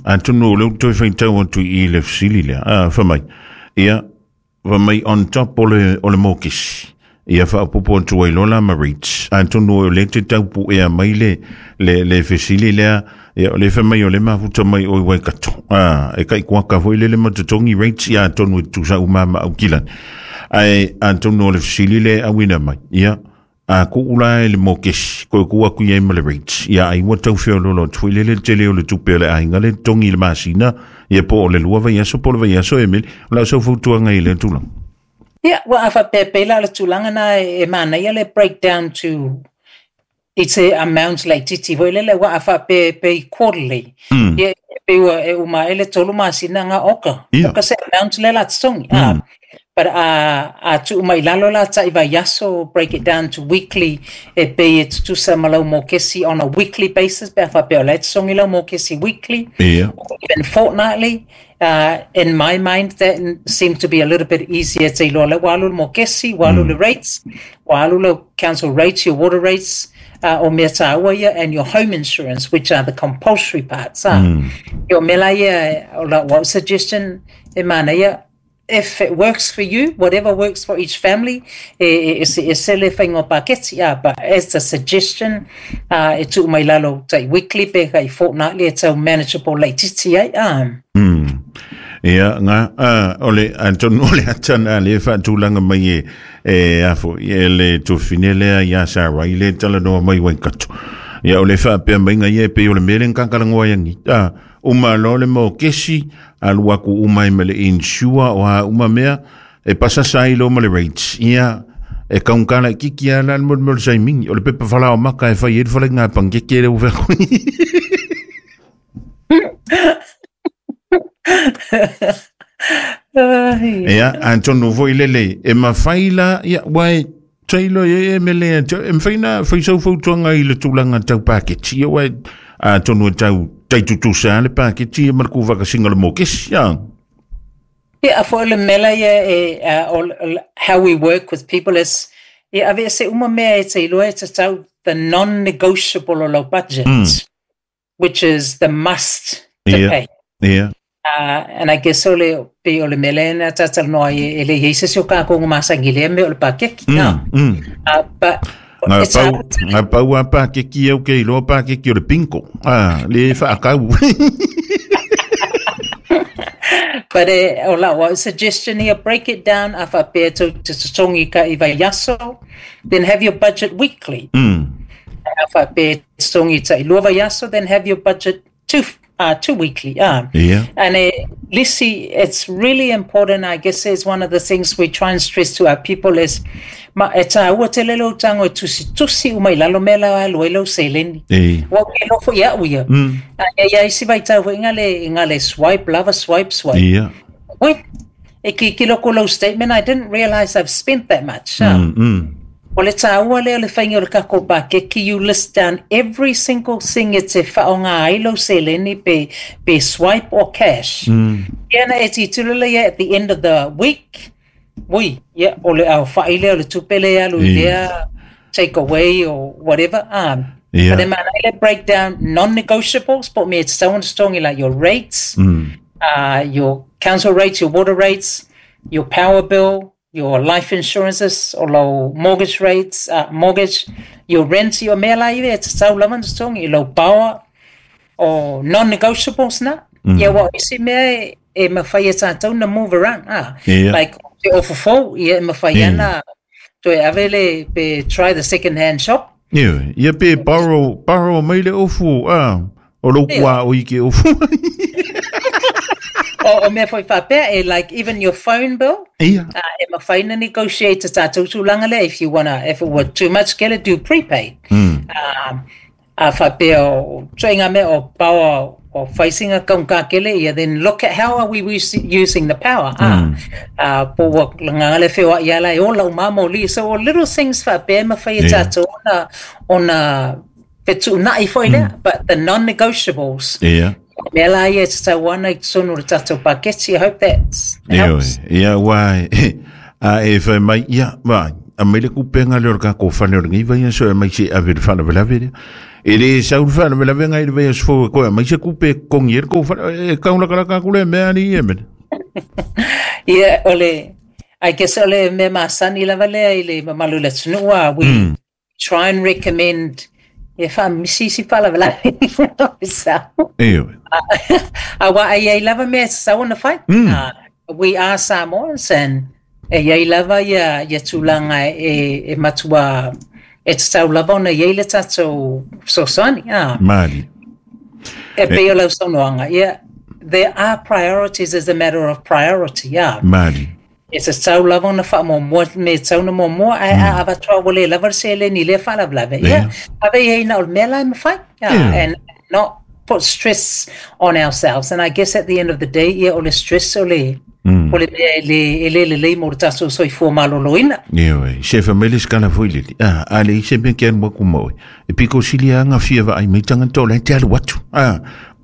Atonu o lea ua toe faitau atu i i le fesili lea, a, fai mai, ia, fai mai on top o le, o le mokesi, ia faaopoopo atu ai loa la ma rates. Atonu o lea e te tau puea mai le, le, le fesili lea, ia, o lea fai mai o lea e mafuta mai oe i Waikato, a, e kai kuaka foi lele ma totogi rates, ia atonu e tutusa uma ma Aukilani. Ae atonu o le fesili lea e auina mai, ia, A kuu la e le mokesi, koe kuu aku i ai ma le rates, ia ai ua tau feoloolo atu foi lele le tele o le tupe a le aiga le totogi i le masina, ia po o le lua vaiaso po o le vaiaso e meli. O lau sau fautuaga i lea tulaga. Ia, ua a faapea pei la o le tulaga na e manaia le breakdown to it's a amount laitiiti foi lele ua a faapea pei quarterly. Ia e pei ua e uma ae le tolu masina nga oka. Oka se amount lea la totogi. But a, a tuu mai lalo la tai vaiaso, break it down to weekly, e pei e tutusa ma lau mokesi on a weekly basis, pe a faapea o la e totogi lau mokesi weekly, or even fortnightly. In my mind, that seemed to be a little bit easier te iloa la ua alu le mokesi, ua alu le rates, ua alu lau council rates, your water rates, o mea tāua ia, and your home insurance, which are the compulsory parts. Ia o mea la ia, o lau au suggestion, e manaia, if it works for you, whatever works for each family, e, e eseese le whainga o paketi, but as a suggestion, e tuu mai lalo tai weekly pe kai fortnightly e tau manageable laititi ai. Ia, ngā, o le, atonu o le ata nā le whaatulanga mai e, e afo, e le tofine lea i a Sarai, le talanoa mai Waikato. Ia, o le whaapea mai ngai e pe o le mele ngakarangoa yangi. Uma loa le mokesi, alu aku uma ai ma le insure o a uma mea, e pasasa ai loa ma le rates. Ia, e kaungkala kiki a la le mo le saimingi, o le pepa falao maka e fai ai le fale ngā pankeke le uvea koe. Ia, atonu foi lele, e mawhai la, ia, wai, Taylor e e mele e mawhai na whai sau fautuanga i le tulaga tau paketi, ia wai, atonu e tau tai tutusa le paketi e ma le kuvakasinga le mokesi, ia. Ia, a foi le mela ia e, how we work with people is, ia ave se uma mea e te iloa e tatau the non-negotiable o lau budget. Which is the must to pay. And I guess o le, pei o le mea lea na tātalanoa ai e le i ai se isi o kākou nga masangi lea mea o le pakeki. But Ngā it's pau, hard to- ngā pau a pākeki au kei loa pākeki o le pinko. Ah, le whaakau. But o lau au suggestion here, break it down, a whapea tau te totongi ka i vaiaso, then have your budget weekly. A whapea totongi ta i lua vaiaso, then have your budget two weekly. And Lisi, it's really important, I guess is one of the things we try and stress to our people is, ma, e tāua te lelo tango e tusi tusi uma i lalo mea la alu ai lau seleni. Wa ke nofo ia au ia. A ia ia isi vai tau i ngale swipe, lava swipe, swipe. Wait, e ki ki loko lau statement, I didn't realize I've spent that much. O le tāua lea o le whainga o le kako pakeki, you list down every single thing e te whaonga ai lau seleni pe, pe swipe or cash. Ia na e titiro lea ia at the end of the week, ui, ia, o le au whai lea, o le tupe lea alu i lea, take away or whatever. But e mana i le breakdown non-negotiables, po me it's so strong like your rates, your council rates, your water rates, your power bill, your life insurances, o lau mortgage rates, mortgage, your rent, your mea la iwe, e te tau lava na totogi, i lau power, o non-negotiables na. Ia wa isi mea e mawhai e tātou na move around. Like, te ofu fou, ia e mawhai ana, toe ave le, pe try the second hand shop. Ia, ia pe borrow mai le ofu, o lou kua o i ke ofu. O mea foi whapea, e like even your phone bill, e mawhai na negotiate te tātou tūlanga lea, if you wanna, if it were too much, get it do prepaid. A whapea o toi ngā mea o power o whaisinga kaunga kele ia, then look at how are we using the power. Po ua ngā le whioa i ala e ola o mamo li. So little things whapea e mawhai e tātou ona whetuunai foi lea, but the non-negotiables. Mea la ia e te tau ana i te tonu o le tātou paketi. I hope that helps. Ia, wai, a e whai mai, ia, vai. a mai le kupenga le o le kako fale o le ngiva ia so e mai se ave le faalavelave lea. E le sau le faalavelave ngai le vaiaso fou e koe mai se kupe kongi e le kou fale e kaulakalaka aku le mea ali e mele. Ia, o le, I guess o le mea masani lava lea i le mamalu o le atunuu a we try and recommend e faamisi isi faalavelave sau. E oe. Aua ai ai lava mea e tatau ona fai. We are Samoans and e iai lava ia tulaga e matua e tatau lava ona iai le tatou fesoasoani. Mali. E pei o lau saunoaga, ia, there are priorities as a matter of priority. Yeah. Mali. E tatau lava ona faamuamua me tatau na muamua ae a avatua ua le lava le seleni i lea faalavelave. Yeah. Ave i ai na o le mea la e mafai. Yeah. And not put stress on ourselves. And I guess at the end of the day, ia o le stress o le mea e le lelei mo le tatou soifua maloloina. E oe, se fa mai le skala foi lele. Ah, a le ise mea ke alu aku ma oe. E piko sili anga fia vaai mai tangata o le te alu atu. Ah,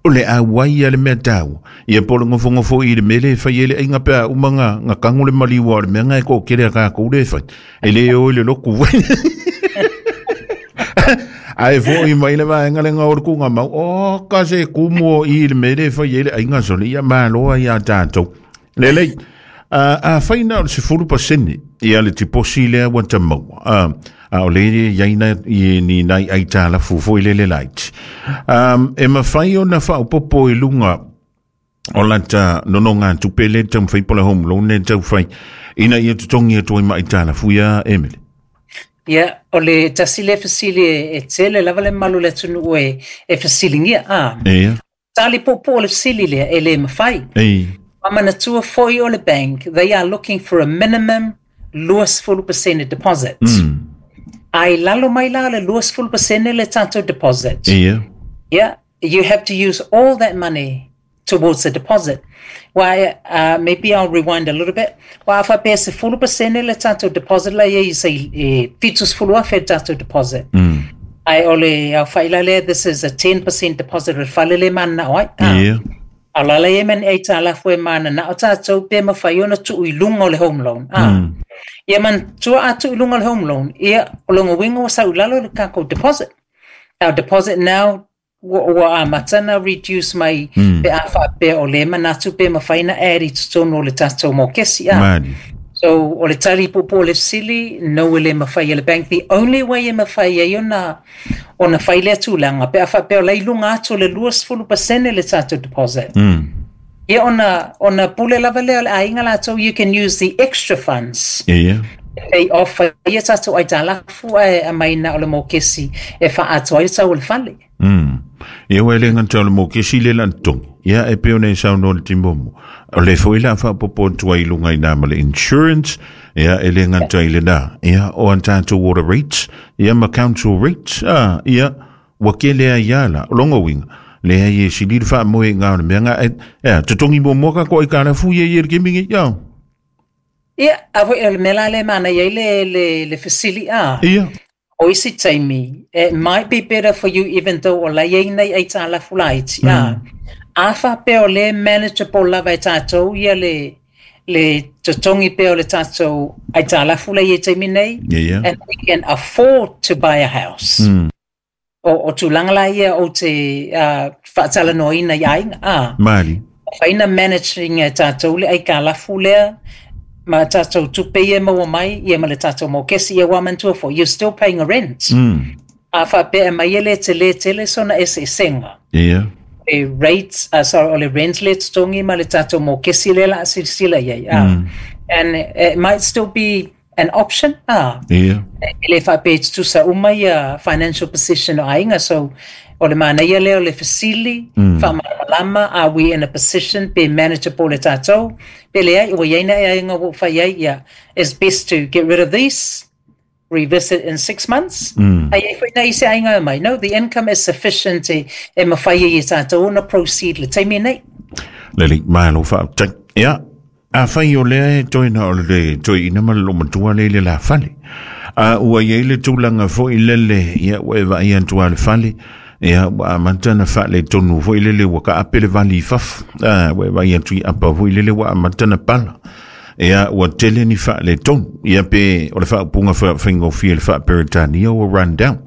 o le a wai a le mea tau. Ia po le ngofo i le mele fai ele ainga pe a uma nga kango le maliua o le mea ngai ko kere a ka kou le fai. E le o i le loku. Ai fo i mai le vaenga le ngā o le kunga mau. O ka se kumu o i le mele fai ele ainga sole ia maloa ia tātou. Lelei, a whaina o le 10% ia le tiposi lea ua ta maua. A o le iaina i ni nai ai tā la fufo i lele lait. E mawhai o na whaopopo i lunga o lata nono ngā tupe le tau whai pola home loan le tau whai ina ia tutongi e toi mai tā la fuia Emily. Ia, o le tasi le fesili e tele lava le malu le atunuu e fesilingia. Ah, Ia. tali popo o le fesili lea e le mawhai. Ei. Manatua foi o le bank, they are looking for a minimum 20% deposit. Ai lalo mai la le 20% le tatou deposit. Ia. Yeah, you have to use all that money towards the deposit. Why, maybe I'll rewind a little bit. Wa afa pe 10% le tatou deposit la ia se e 70,000 le tatou deposit. Ai o le au whaila le, this is a 10% deposit o le fale le mana oi. Ah. Ia. A la le men e tā la fue mana na o tātou pe mawhai ona tu i lunga o le home loan. Ah. Ia man tua atu i lunga o le home loan, ia o longa winga o sa ulalo le kako deposit. Our deposit now ua a matana reduce mai pe a wha pe o le manatu pe mawhai na eri totonu o le tātou mokesi. Ah. Mali. So, o le tali popo le fesili, no e le mawhai e le bank. The only way e mawhai ai ona whai le tūlanga, pe a wha pe o lei lunga atu o le 20% le tātou deposit. Ia ona pule lava lea o le ainga lātou, you can use the extra funds. Ia. Pay off ia tātou ai tālafu e a mai na o le mokesi e wha atu ai tau o le fale. Ia ua le nganta o le mokesi le lan tongi. Ia e peo nei sau no le timbomo. O le foi la wha popo tua i lunga i nā ma le insurance. Ia e le nganta i le nā. Ia o an tātou water rates. Ia ma council rates. Ah, ia wa ke lea ia la. O longo winga. Lea i e sili le wha moe ngā o le mea ngā. E, te tongi mo moka ko i kāna fu ia i le kimingi. Ia. Ia, a foi o le mea la le mana ia i le fesili a. Ia. O isi taimi, it might be better for you even though o lai ai nei ai tā lafu laiti. Mm. A wha pe o le manageable lava e tātou ia le totongi pe o le tātou ai tā lafu lai e taimi nei. Ia. And we can afford to buy a house. O tūlanga la ia o te whaatala noina i ainga. Ah. Mali. Whaina managing e tātou le ai ka lafu lea, ma tātou tupe ia maua mai, ia ma le tātou mokesi ia wamantua for. You're still paying a rent. A wha pe mai ele te le tele sona e se senga. Ia. Le rates, sorry, o le rent le tongi ma le tātou mokesi le la sila ia. Ah. And it might still be an option. Ah. Ia. E le wha pe tusa uma ia financial position o ainga. So, o le mana ia lea o le fesili, wha are we in a position be manageable le tātou? Pe le ai, o iaina e ainga wo whai ai, ia, it's best to get rid of these, revisit in 6 months. Ai e whai nei se ainga mai. No, the income is sufficient e mawhai i tātou ona proceed le taimi nei. Lele, malo wha. Ia, a whai o lea e toi na o le toi ina ma lo matua le le la fale. A ua iei le tūlanga foi lele, ia ua e vai antua le fale, ia ua amata na wha le tonu foi lele ua ka ape le vali i fafu. A ua e vai atu i apa foi lele ua amata na pala. Ia ua tele ni faaletonu. Ia pe o le faaupuga faigofie i le faa-Peretania ua run down.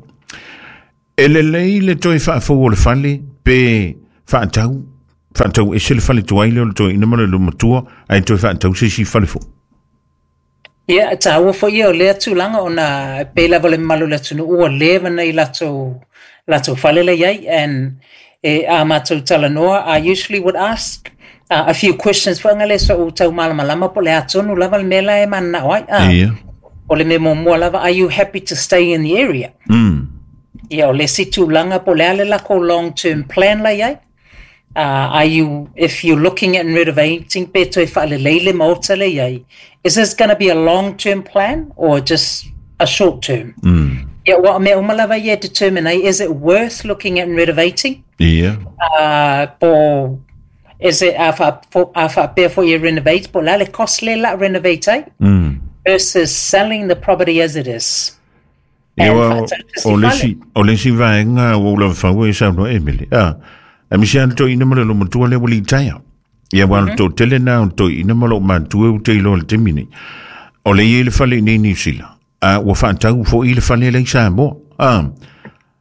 E lelei le toe faafou o le fale pe faatau, faatau ese le fale tuai lea o le toeaina ma le matua ae toe faatau se isi fale fou. Ia, e tāua foi ia o lea tulaga ona e pei lava o le mamalu o le atunuu ua leva nai latou, latou fale la i ai and e a matou talanoa I usually would ask a few questions foi nga le so'u tau malamalama po o le a tonu lava le mea la e mananao ai. O le mea muamua lava, are you happy to stay in the area? Ia, o le isi tulaga po o le a le lakou long term plan la i ai. Are you, if you're looking at renovating pe toe faalelei le maota le i ai, is this gonna be a long term plan or just a short term? Ia, ua o mea uma lava ia e determine ai, is it worth looking at renovating? Po is it a faapea foi e renovate, po o le a le cost lea o le a renovate ai? Versus selling the property as it is. Ia, o le isi, o le isi vaega ua ou lava fau e saunoa e Mele. A, e misi a le toeaina ma le lomatua lea ua litaea. Ia, ua le toatele na o le toeaina ma lou matua ua te iloa i le taimi nei. O le i ai le fale i nei Niu Sila. A, ua faatau foi le fale lea i Samoa. A,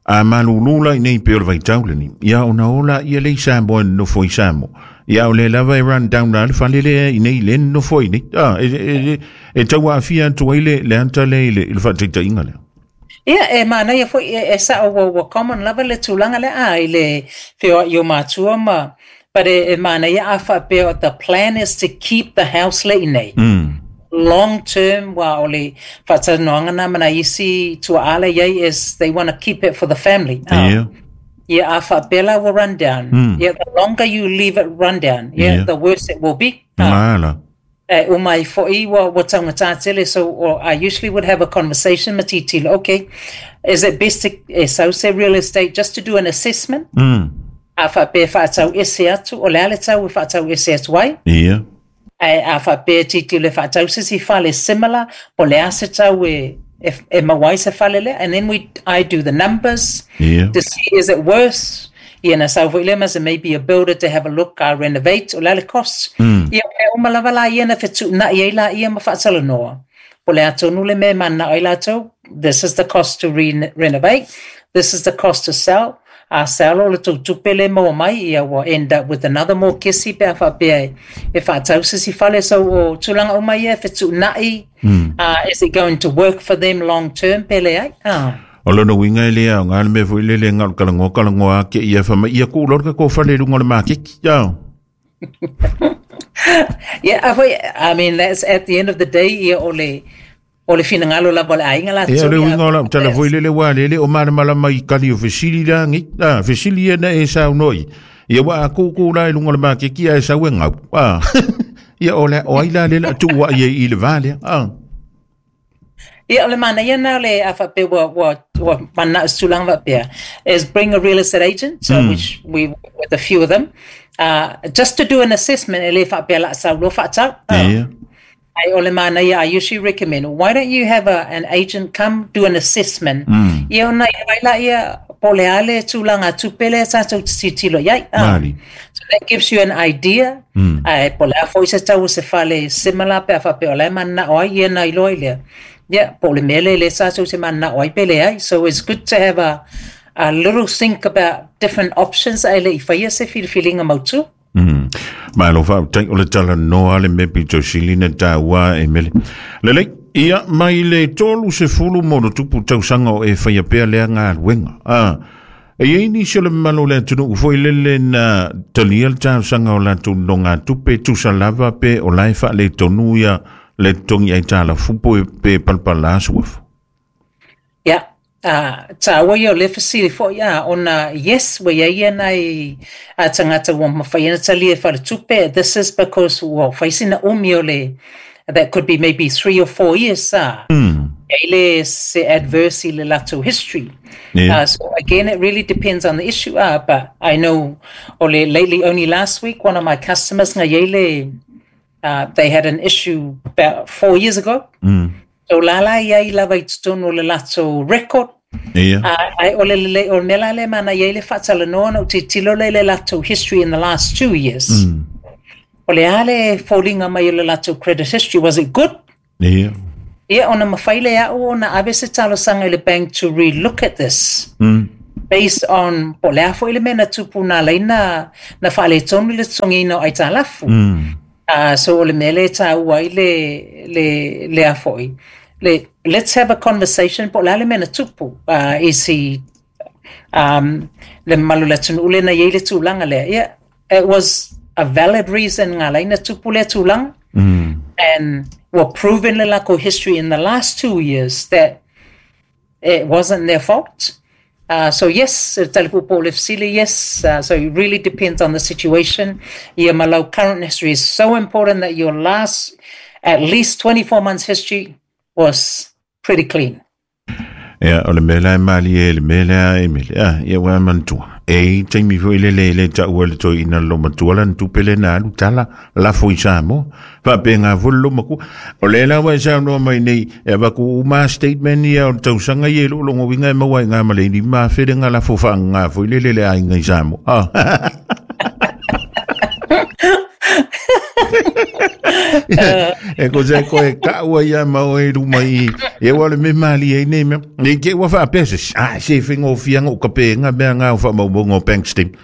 a malulu la i nei pei o le vaitau lenei. Ia, ona o laia lea i Samoa e nonofo i Samoa. Ia, o lea lava e run down la le fale lea i nei, lea e nonofo ai nei. A, e, e, e tau aafia atu ai le, le ata lea i le, i le faataitaiga lea. Ia, e manaia foi, e, e sao ua, ua common lava le tulaga lea, a, i le feoai o matua ma, but e, e manaia a faapea the plan is to keep the house le i nei. Long term, wa o le faatalanoaga na ma nai isi tuaa la i ai is they want to keep it for the family. Ia. Ia, a faapea la ua run down. Ia, the longer you leave it run down, ia, the worse it will be. Mala. E uma ai foi ua, ua taugata tele, so or I usually would have a conversation ma tilotilo, okay, is it best to e sau se real estate just to do an assessment? A faapea e faatau ese atu, o le a le tau e faatau ese atu ai? Ia. Ae a faapea e tilotilo e faatau se isi fale similar, po o le a se tau e, e, e maua ai se fale lea, and then we, I do the numbers to see is it worth. Ia na sau foi lea ma se maybe a builder to have a look, a renovate, o le a le cost. Ia o mea uma lava la ia na fetuunai ai laia ma faatalanoa. Po o le a tonu le mea e mananao ai latou, this is the cost to re renovate, this is the cost to sell, a sell o le tou tupe lea e maua mai, ia ua end up with another mokesi pe a faapea e faatau se isi fale. So o tulaga uma ia e fetuunai, is it going to work for them long term pe leai? O lona uiga e le aoga le mea foi lele e galo kalagoa kalagoa ake ia fai mai ia kuu loa le tatou fale i luga o le maketi. Ao. Yeah, a foi, I mean, that's at the end of the day, ia o le, o le finagalo lava o le aiga latou. Ia, o le uiga o lau tala foi lele ua lele o malamalama i kali o fesili la ngi. Ah, fesili ia na e saunoa i. Ia ua a kūkū la i luga o le maketi ae sau e gau. Ah. Ia o le o ai la le la tuu ai i le va lea. Ah. Ia, o le manaia na o le a faapea ua, ua, ua manao se tulaga faapea, is bring a real estate agent, so which we work with a few of them, just to do an assessment, e le faapea la sau loa faatau. Ia. Ai o le manaia, I usually recommend, why don't you have a, an agent come do an assessment? Ia ona i ai laia, po o le a le tulaga tupe lea tatou te tilotilo i ai. Mali. So that gives you an idea, ae po o le a foi se tau o se fale similar pe a faapea o la e mananao ai ia na iloa ai lea, ia, po o le mea lea lea tatou te mananao ai pe leai. So it's good to have a little think about different options ae le i faia se filifiliga mautu. Malo faafetai o le talanoa le mea pito sili na taua e Mele. Lelei, ia mai le 30 ma ono tupu tausaga o e faia pea lea galuega. Ah, e i ai nisi o le mamalu o le atunuu foi lele na talia le talosaga o latou nonogatupe tusa lava pe o la e faaletonu ia le totogi aitalafu po pe palapala suafu. Ia, tāua ia o lea fesili foi, a, ona yes, ua i ai ia nai tagata ua mafai ona talia e faletupe, this is because ua fai sina umi o le, that could be maybe 3 or 4 years, a, i ai le se adverse i le latou history. So again, it really depends on the issue, but I know, o le lately, only last week, one of my customers nga i ai le, they had an issue about 4 years ago. So la la i ai lava i totonu o le latou record. Ai o le lelei o le mea la lea mana i ai le faatalanoa na ou tilotilo lea i le latou history in the last 2 years. O le a le foliga mai o le latou credit history, was it good? Ia. Ia, ona mafai lea o ona ave se talosaga i le bank to relook at this. Based on po o le a foi le mea na tupu na ala ai na faaletonu le totogiina o aitalafu. So o le mea lea e taua ai le a foi. Le, let's have a conversation po o le a le mea na tupu. Is he, le mamalu o le atunuu lea na i ai le tulaga lea. Yeah, it was a valid reason na ala ai na tupu lea tulaga. And were proven le lakou history in the last 2 years that it wasn't their fault. So yes, tali puupuu o le fesili, yes. So it really depends on the situation. Ia ma lau current history is so important that your last at least 24 months history was pretty clean. Ia, o le mea la e malie le mea lea e mele. Ah, ia ua manatua. E taimi foi le le le taua le toeaina le olomatua lana tupe le na alu tala lafo i Samoa. Faapena foi le olomakua. O le la ua e saunoa mai nei, e avatu uma statement ia o le tausaga ia i lou logoina e maua ai ngā ma le 5,000 le ngā lafo whaangā foi le le le aiga i Samoa. Ah. E ko se ko e kaua ia ma o e ruma i e ua le me mali e nei mea. Nei ke ua whaapea se, ah, se whengo fianga o kape ngā mea ngā o whaamaumauga o bank statement.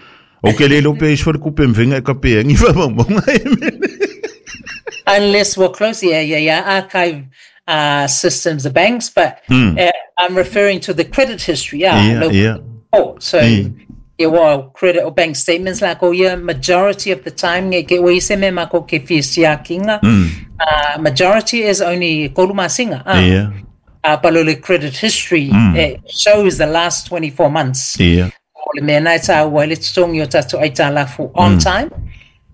O ke le lope is whare kupe mwhenga e kape ngi whaamaumauga e mele. Unless we're close, yeah, archive systems, the banks, but I'm referring to the credit history, yeah. Local report. So, yeah, well, credit or bank statements like, oh yeah, majority of the time, nge ke ua ise me mako ke fia siakinga, majority is only kolu masinga. But o le credit history, it shows the last 24 months. O le mea na e tāua ai le totogi o tatou aitalafu on time,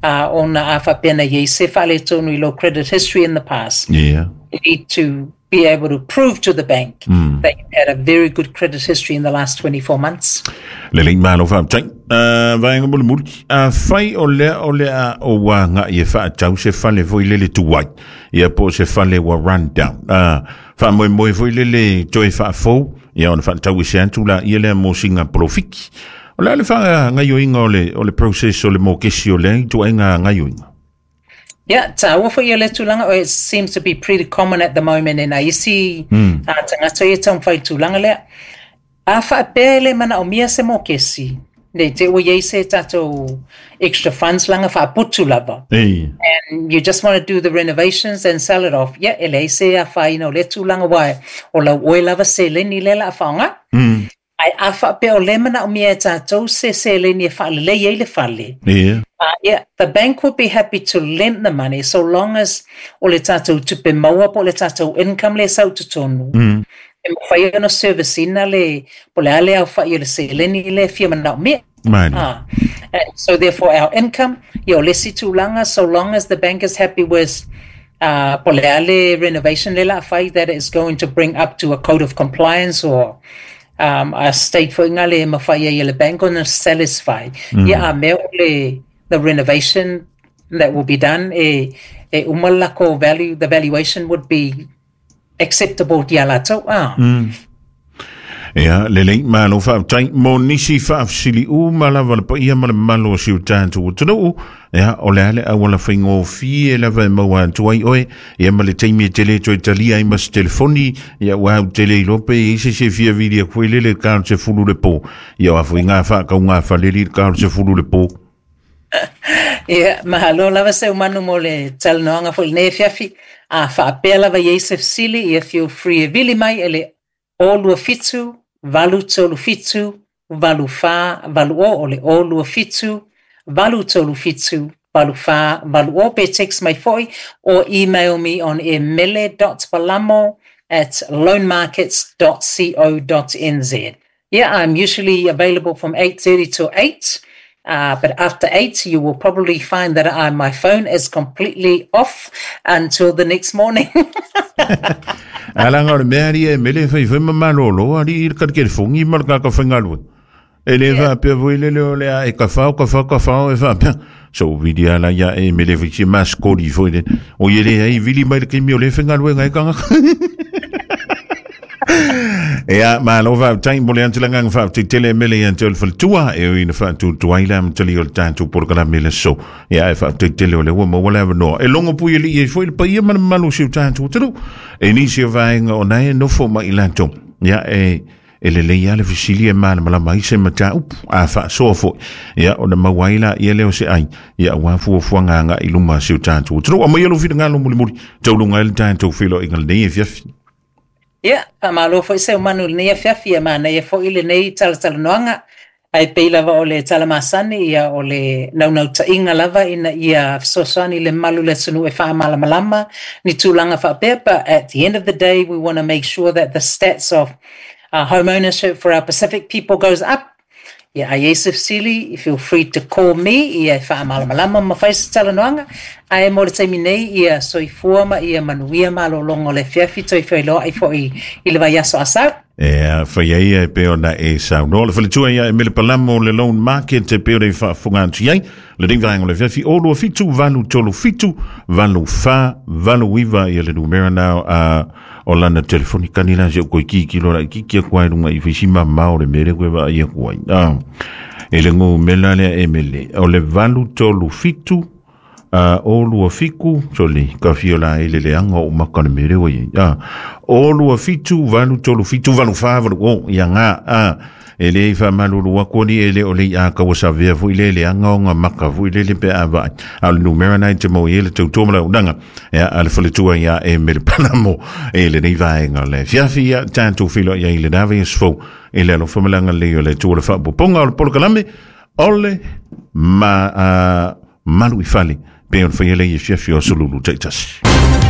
ona a faapea na i ai se faaletonu i lau credit history in the past. You need to be able to prove to the bank that you had a very good credit history in the last 24 months. Le lei malo faafetai. Vaega mulimuli. Afai o lea o le a o ua i e whaatau se fale foi lele tuai. Ia po se fale ua run down. Wha moe foi lele toe whaafou. Ia ona whaatau i se atu la ia lea mo singa polofiki. O le a le wha ngaioinga o le process o le mokesi o lea i tuai ngā ngaioinga. Yeah, tāua foi ia le tulaga, it seems to be pretty common at the moment in isi tagata ia taumafai tulaga lea. A faapea le manaomia se mokesi, nei te ua iai se tatou extra funds laga faaputu lava. And you just want to do the renovations and sell it off. Yeah, e leai se afaina o lea tulaga ua o lau oe lava seleni lea o le a faaaoga. Ae a faapea o lea manaomia e tatou se seleni e faalelei ai le fale. Yeah, the bank would be happy to lend the money so long as o le tatou tupe maua po o le tatou income le sau totonu. E mafai ona service ina le po o le a le aofai o le seleni le fia manaomia. Mani. Ah, and so therefore our income, ia o le isi tulaga, so long as the bank is happy with po o le a le renovation le la fai that is going to bring up to a code of compliance or a state foi ngā le mafai ai e le bank ona satisfy. Ia a mea o le the renovation that will be done e uma lako value, the valuation would be acceptable ia latou. Ah. Ia, le lei malo faafetai mo nisi faafesili uma lava le paia ma le mamalu o si o tatou atunuu. Ia, o le a le auala faigofie lava e maua atu ai oe, ia ma le taimi e tele toe talia ai ma se telefoni, ia ua au tele iloa pe i se se fia vili aku foi lele ka o se fulu le po. Ia o afu i ngā whaakau ngā whaleli ka o se fulu le po. Ia, mahalo lava Seumanu mo le talanoaga foi i lenei afiafi. A faapea lava i ai se fesili, ia feel free e vili mai e le 027 837 8480, o le 027 837 8480, pe text mai foi or email me on emele.balamo@loanmarkets.co.nz. Yeah, I'm usually available from 8:30 to 8. But after 8, you will probably find that my phone is completely off until the next morning. Alanga o le mea ali e mele fai fai ma malolo ali i le telefoni ma le kaka whaingalua. E le faapea foi lele o le a e ka whao, ka whao, ka whao e faapea. So vili ala ia e mele fai si maskoli foi le. O ie le ai vili mai le kimi o le whaingalua ngai kanga. Ia, malo faafetai mo le atilagaga faafetai mele ia te oe le faletua e ui ina faatuatuai le amatalia o le tatou polokalame i le aso. Ia, ae faafetai tele o lea ua maua le avanoa e logo puialii ai foi le paia ma le mamalu o si o tatou atunuu i nisi o vaega ona e nofo mai i latou. Ia, e lelei lava le fesili e malamalama ai se mataupu a faasoa foi, ia ona maua ai laia lea o se ai, ia aua fuafuaga agai i luma a si o tatou atunuu. Aumaia lou finagalo mulimuli tauluga ai le tatou feiloaiga lenei afiafi. Ia, faamalo foi Seumanu i lenei afiafi, e manaia foi lenei talatalanoaga. Ae pei lava o le tala masani, ia o le naunautaiga lava ina ia fesoasoani le mamalu o le atunuu e faamalamalama ni tulaga faapea. But at the end of the day, we want to make sure that the stats of home ownership for our Pacific people goes up. Ia, a i ai se fesili, feel free to call me, ia e faamalamalama ma fai se talanoaga. Ae mo le taimi nei, ia soifua ma ia manuia malologa o le afiafi, toe feiloai foi i le vaiaso a sau. E fai ai e pei ona e saunoa le faletua ia e Mele Palamo le loan market e pei ona e faafofoga atu i ai lenei vaega o le afiafi 027 837 8489 ia le numera na o lana telefoni kani la se ko ki ki lo la ki ki ko ai lunga i fisi ma ma o le mele ko va ia ko ai e le ngu mela le e mele o le 837 o 27 soli ka fio la e le leanga o maka le mere o ia 027 837 84 o ia ngā e le whamalulu aku ni e le o le a kawa sa vea fui le le anga o ngā maka fui le le pe a vai. A le numera nei te mau e le tautua mala unanga. Ia a le faletua ia e mele palamo e le nei vaenga le fiafi ia tātou filo ia i le nave esfou e le alofa malanga le o le tua le whaapoponga o le polokalame o le ma malu i fale pe o le whaia le i fiafi o sululu taitasi.